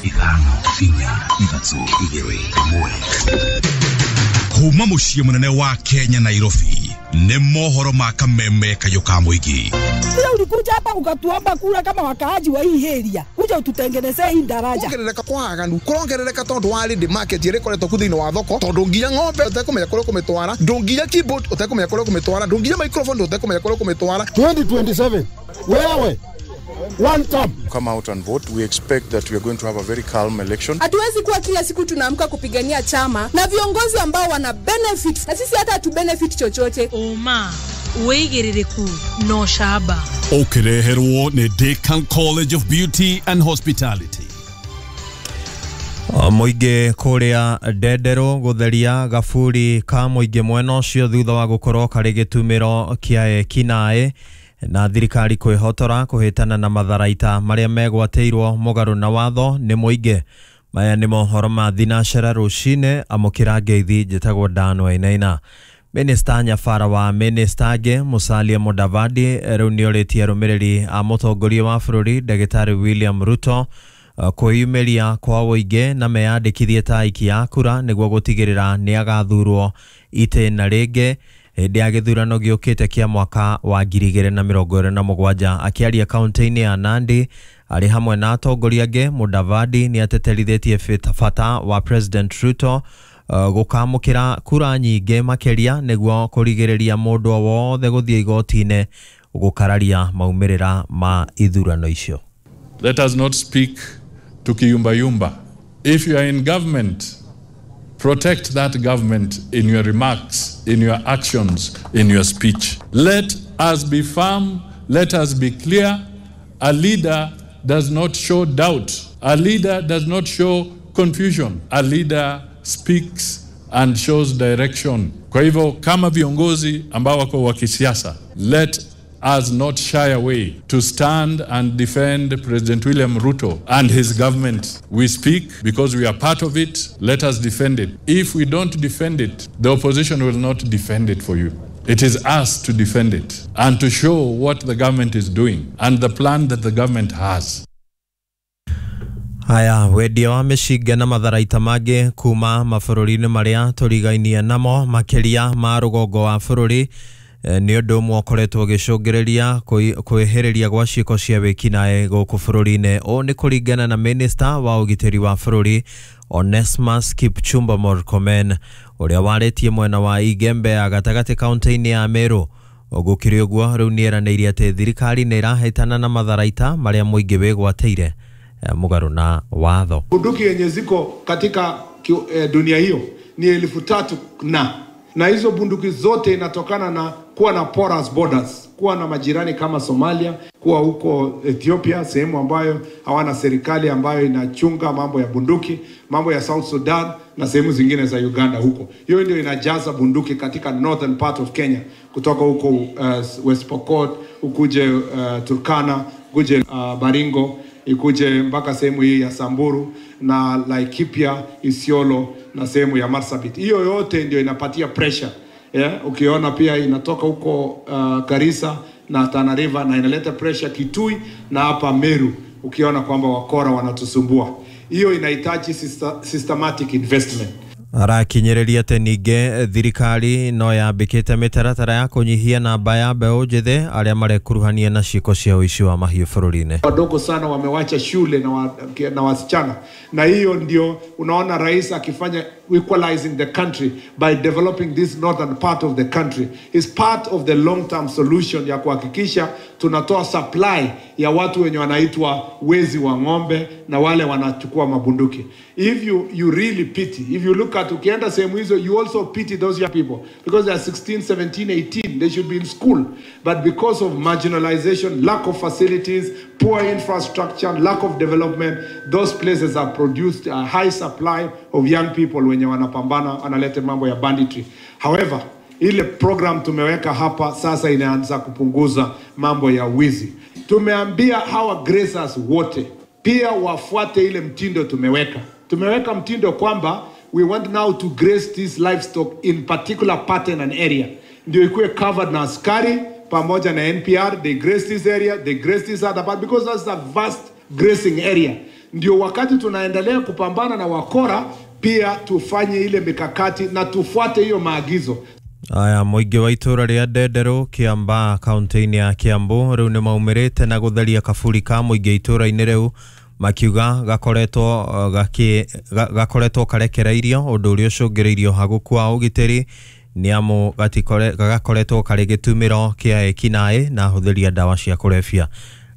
Ithano, inya, ithatũ, igĩrĩ, ĩmwe. Kuma mũciĩ mũnene wa Kenya, Nairobi, nĩ mohoro ma kameme kayũ ka mũingĩ. Sio ulikuja hapa ukatuomba kura kama wakaaji wa hii area, kuja ututengenezee hii daraja. Kuongerereka kwa aganu kurongerereka tondu wa ready market ĩrĩa ĩkoretwo ku thĩinĩ wa thoko, tondu nginya ng'ombe ũtekũmenya kũrĩa ũkũmĩtwara, ndũnginya keyboard ũtekũmenya kũrĩa ũkũmĩtwara, ndũnginya microphone ũtekũmenya kũrĩa ũkũmĩtwara. 2027 wewe one term. Come out and vote. We expect that we are going to have a very calm election. Hatuwezi kuwa kila siku tunaamka kupigania chama na viongozi ambao wana benefit na sisi hata hatu benefit chochote. Ũma, wĩigĩrĩrĩku na ũcamba. Ũkĩreherwo nĩ Decan College of Beauty and Hospitality. Mũingĩ kũrĩa Ndenderũ gũtheria gaburi ka mũingĩ mwena ũcio thutha wa gũkorwo karĩ gĩtumĩro kĩa ekinaĩ, na thirikari kwĩhotora kũhĩtana na matharaita marĩa megwatĩirwo mũgarũ na watho nĩ mũingĩ. Maya nĩ mohoro ma thinacera rũcinĩ. Amũkĩra ngeithi, njĩtagwo Dan Wainaina. Minista nyabara wa minista angĩ Musalia Mudavadi rĩu nĩorĩtie arũmĩrĩri a mũtongoria wa bũrũri Ndagĩtarĩ William Ruto kwĩyumĩria kwa ũingĩ na meyandĩkithie ta aikia a kura nĩguo gũtigĩrĩra nĩ agathurwo itĩna rĩngĩ hĩndĩ ya gĩthurano gĩũkĩte kĩa mwaka wa 2027. Akĩaria kaunti-inĩ ya Nandi arĩ hamwe na atongoria angĩ, Mudavadi nĩ ateterithĩtie bata wa President Ruto gũkamũkĩra kura nyingĩ makĩria nĩguo kũrigĩrĩria mũndũ o wothe gũthiĩ igoti-inĩ gũkararia maumĩrĩra ma ithurano icio. Let us not speak tukiyumbayumba. If you are in government, protect that government in your remarks, in your actions, in your speech. Let us be firm, let us be clear. A leader does not show doubt. A leader does not show confusion. A leader speaks and shows direction. Kwa hivyo kama viongozi ambao wako wa kisiasa, let us not shy away to stand and defend President William Ruto and his government. We speak because we are part of it. Let us defend it. If we don't defend it, the opposition will not defend it for you. It is us to defend it and to show what the government is doing and the plan that the government has. Haya, wendia wa mĩcinga na matharaita mangĩ kuma mabũrũri-inĩ marĩa tũrigainie namo makĩria ma rũgongo wa bũrũri nĩ ũndũ ũmwe ũkoretwo ũgĩcũngĩrĩria kwĩhĩrĩria gwa ciĩko cia wĩkinaĩ gũkũ bũrũri-inĩ. Ũũ nĩ kũringana na minista wa ũgitĩri wa bũrũri Onesmus Kipchumba Murkomen ũrĩa warĩtie mwena wa Igembe ya gatagatĩ kaunti-inĩ ya Meru. Gũkĩrĩ ũguo, rĩu nĩ eranĩire atĩ thirikari nĩ ĩrahĩtana na matharaita marĩa mũingĩ wĩgwatĩire mũgarũ na watho. Bunduki yenye ziko katika dunia hiyo ni 3,000 na hizo bunduki zote inatokana na kuwa na porous borders, kuwa na majirani kama Somalia, kuwa huko Ethiopia, sehemu ambayo hawana serikali ambayo inachunga mambo ya bunduki, mambo ya South Sudan na sehemu zingine za Uganda huko. Hiyo ndio inajaza bunduki katika northern part of Kenya, kutoka huko West Pokot, ukuje Turkana, ukuje Baringo, ikuje mpaka sehemu hii ya Samburu na Laikipia, Isiolo na sehemu ya Marsabit. Hiyo yote ndio inapatia pressure. Yeah, ukiona pia inatoka huko Garissa na Tana River na inaleta pressure Kitui na hapa Meru, ukiona kwamba wakora wanatusumbua. Hiyo inahitaji systematic investment. Arakinyĩrĩria atĩ ningĩ thirikari no yambĩkĩte mĩtaratara ya kũnyihia namba ya mbeũ njĩthĩ arĩa marekuruhania na ciĩko cia ũici wa mahiũ bũrũri-inĩ. Wadogo sana wamewacha shule na wasichana, na hiyo ndio unaona rais akifanya equalizing the country by developing this northern part of the country is part of the long term solution ya kuhakikisha tunatoa supply ya watu wenye wanaitwa wezi wa ng'ombe na wale wanachukua mabunduki. If you really pity, if you look at ukienda sehemu hizo, you also pity those young people because they are 16, 17, 18, they should be in school, but because of marginalization, lack of facilities, poor infrastructure, lack of development, those places have produced a high supply of young people wenye wanapambana, wanaleta mambo ya banditry. However, ile program tumeweka hapa sasa inaanza kupunguza mambo ya wizi. Tumeambia hawa grazers wote pia wafuate ile mtindo tumeweka. Tumeweka mtindo kwamba we want now to graze this livestock in particular pattern and area. Ndio ikuwe covered na askari pamoja na NPR, they graze this area, they graze this other part because that's a vast grazing area. Ndio wakati tunaendelea kupambana na wakora, pia tufanye ile mikakati na tufuate hiyo maagizo. Aya, mũingĩ wa itũra rĩa Ndenderũ Kiambaa kaunti-inĩ ya Kiambu rĩu nĩ maumĩrĩte na gũtheria kaburi ka mũingĩ itũra-inĩ rĩu makiuga gakoretwo karekereirio ũndũ ũrĩa ũcũngĩrĩirio hagũku wa ũgitĩri nĩ amu gakoretwo karĩ gĩtumĩro kĩa ekinaĩ na ahũthĩri a ndawa cia kũrebia.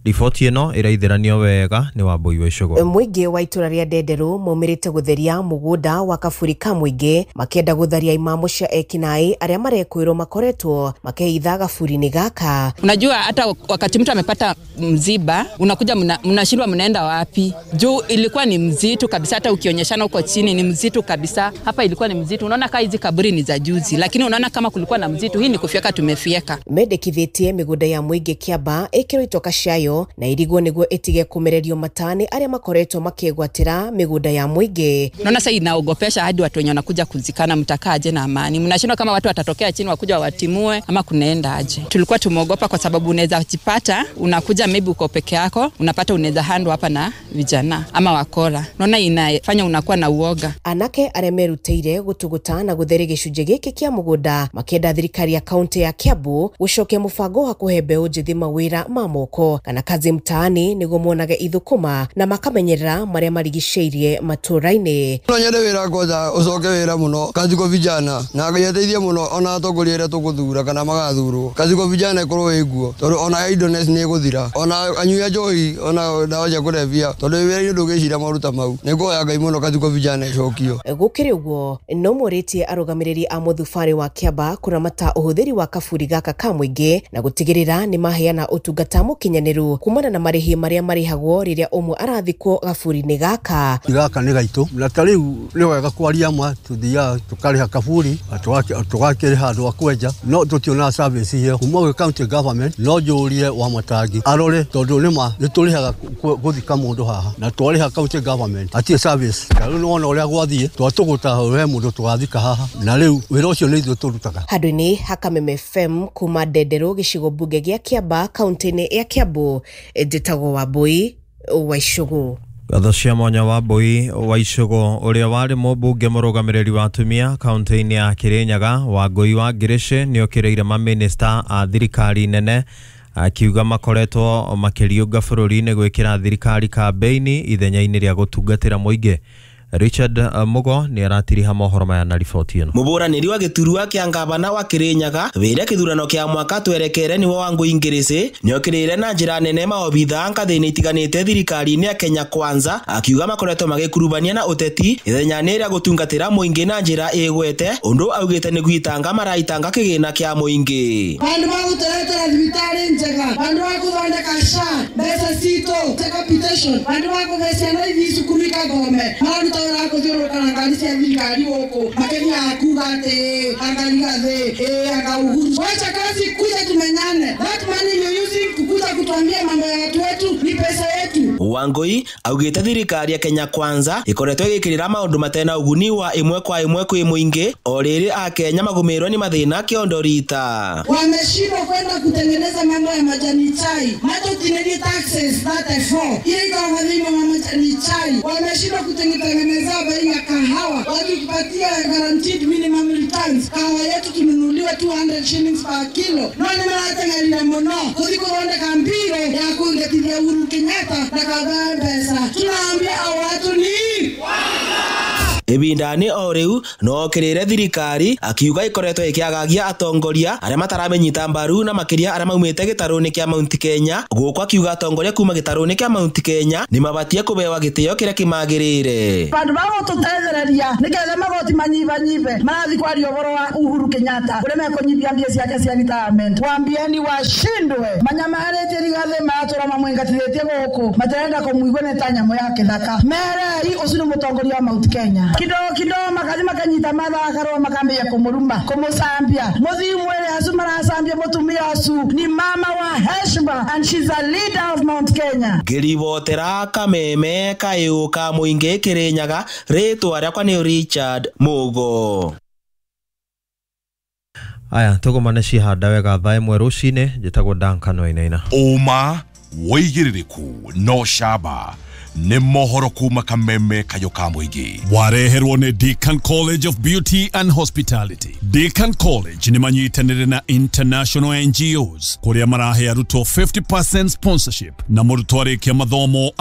Riboti ĩno ĩraithĩranio wega nĩ Wambui wa Icũgũ. Mũingĩ wa itũra rĩa Ndenderũ maumĩrĩte gũtheria mũgũnda wa kaburi ka mũingĩ makĩenda gũtharia imamo cia ekinaĩ arĩa marekwĩrwo makoretwo makĩhitha gaburi-inĩ gaka. Unajua hata wakati mtu amepata mziba unakuja mnashindwa mnaenda wapi? Juu ilikuwa ni mzito kabisa, hata ukionyeshana huko chini ni mzito kabisa. Hapa ilikuwa ni mzito. Unaona kama hizi kaburi ni za juzi, lakini unaona kama kulikuwa na mzito, hii ni kufyeka tumefieka. Mendekithĩtie mĩgũnda ya mũingĩ Kĩamba ĩkĩrwo itoka ciayo na irigwo nĩguo ĩtige kũmererio matani arĩa makoretwo makĩgwatĩra mĩgũnda ya mũingĩ. Naona sasa inaogopesha hadi watu wenye wanakuja kuzikana, mtakaaje na amani? Mnashindwa kama watu watatokea chini wakuja watimue ama kunaenda aje? Tulikuwa tumeogopa kwa sababu unaweza jipata unakuja maybe uko peke yako, unapata unaweza handwa hapa na vijana ama wakora. Naona inafanya unakuwa na uoga. Anake arĩa merutĩire gũtũgũta na gũtheria gĩcunjĩ gĩkĩ kĩa mũgũnda makĩenda thirikari ya kaunti ya Kiambu gũcokia mũbango wa kũhe mbeũ njĩthĩ mawĩra ma moko kana kazi mtaani nĩguo monage ithũkũma na makamenyerera marĩa marigicĩirie matũra-inĩ. No nyende wĩra kwanza ũcoke wĩra mũno kazi kwa vijana na ngeteithie mũno ona atongoria arĩa tũgũthura kana magathurwo. Kazi kwa vijana ĩkorwo ĩguo tondũ ona idleness nĩ ĩgũthira, ona anyui a njohi ona ndawa cia kũrebia, tondũ wĩra-inĩ ndũgĩcira maruta mau. Nĩ ngũhoya Ngai mũno kazi kwa vijana ĩcokio. Gũkĩrĩ ũguo no morĩtie arũgamĩrĩri a mũthubarĩ wa Kĩamba kũramata ũhũthĩri wa kaburi gaka ka mũingĩ na gũtigĩrĩra nĩ maheana ũtungata mũkinyanĩru kumana na marĩhi marĩa marĩhagwo rĩrĩa ũmwe arathikwo gaburi-inĩ gaka. Gaka nĩ gaitũ na ta rĩu nĩ wega kwaria ma tuthiaga tũkarĩha kaburi tũgakĩrĩha andũ a kwenja no tũtionaga service ĩyo kuma gwĩ county government. No njũrie wa Matangi arore tondũ nĩma nĩ tũrĩhaga gũthika mũndũ haha na twarĩha county government atirĩ service. Ta rĩu nĩwona ũrĩa gwathiĩ twatũgũta he mũndũ tũgathika haha na rĩu wĩra ũcio nĩ ithuĩ tũrutaga. Handũ-inĩ ha Kameme FM kuma Ndenderũ gĩcigo mbunge gĩa Kĩamba kaunti-inĩ ya Kiambu, njĩtagwo Wambui wa Icũgũ. Ngatho cia mwanya Wambui wa Icũgũ. Ũrĩa warĩ mũmbunge mũrũgamĩrĩri wa atumia kaunti-inĩ ya Kĩrĩnyaga Wangũi wa Ngĩrĩcĩ nĩokĩrĩire mamĩnĩsta a thirikari nene akiuga makoretwo makĩriũnga bũrũri-inĩ gwĩkĩra thirikari kambĩini ithenya-inĩ rĩa gũtungatĩra mũingĩ. Richard Mugo nĩ aratiriha mohoro maya na riboti ĩno. Mũbũranĩri wa gĩturwa kĩa ngavana wa Kĩrĩnyaga wĩra kĩthurano kĩa mwaka twerekere nĩwe Wangũi Ngĩrĩcĩ nĩokĩrĩire na njĩra nene maobitha ngathĩ-inĩ itiganĩte thirikari-inĩ ya Kenya Kwanza akiuga makoretwo magĩkurubania na ũteti ithenya-inĩ rĩa gũtungatĩra mũingĩ na njĩra ĩgwete ũndũ augĩte nĩ gwitanga maraitanga kĩgĩna kĩa mũingĩ. Bandu bagũtũretera thibitarĩ njega, bandu bagũthondeka SHA mbeca citũ capitation, bandu bakũhe ciana ithi cukuru ikathome, mararuta wĩra kũthiũrũrũka na ngari cia thirikari gũkũ makĩthiaga kuga atĩ anga Rigathĩ, anga Uhuru. Wacha kazi kuja tumenyane. That money you're using kukuja kutuambia mambo ya watu wetu ni pesa yetu. Wangũi augĩte thirikari ya Kenya Kwanza ĩkoretwo ĩgĩkĩrĩra maũndũ matena ũguni wa ĩmwe kwa ĩmwe kwĩ mũingĩ o rĩrĩ akenya magũmĩrwo nĩ mathĩna kĩondo rita. Wameshindwa kwenda kutengeneza mambo ya majani chai, matotineli taxes 34 ile iko madhima wa majani chai. Wameshindwa kutengeneza bei ya kahawa, watupatia guaranteed minimum returns. Kahawa yetu tununuliwa 200 shillings per kilo. No nĩ marateng'erire mũno gũthiĩ gũthondeka mbiro ya kũingatithia Uhuru Kenyatta na kaba mbeca. Tunaambia hao watu ni Ibindani o riu no okirire thirikari akiuga ikoretwo ikiagagia atongoria aria mataramenyita mbaru na makiria aria maumite gitaruni kia Mount Kenya. Guku akiuga atongoria kuma gitaruni kia Mount Kenya ni mabatie kubewa gitio kiria kimagirire. Bandu bagututethereria nigetha magoti manyibanyibe marathi kwaria uhoro wa Uhuru Kenyatta uria mekunyibia mbia ciake cia retirement. Wambieni washindwe manyamaritie Rigathi maratura mamwingatithitie guku matirenda kumuigua ni ta nyamu ya kithaka. Merei ucio ni mutongoria wa Mount Kenya. Kidogo kidogo makathi makanyita mathakarwo makambia kumuruma kumucambia muthii mwere acu maracambia mutumia acu ni mama wa heshima and she's a leader of Mount Kenya. Ngiribotera Kameme kayu ka muingi Kirinyaga ritwa riakwa ni Richard Mugo. Aya tugumane cihanda wega thaa 1 rucini njitagwo Duncan Wainaina. Uma wigiririku no shaba Nĩ mohoro kuma kameme kayo ka mũingĩ. Wareherwo nĩ Deakin College of Beauty and Hospitality. Deakin College nĩ manyitanĩre na international NGOs kũrĩa marahe arutwo 50% sponsorship na mũrutwo arĩkia mathomo.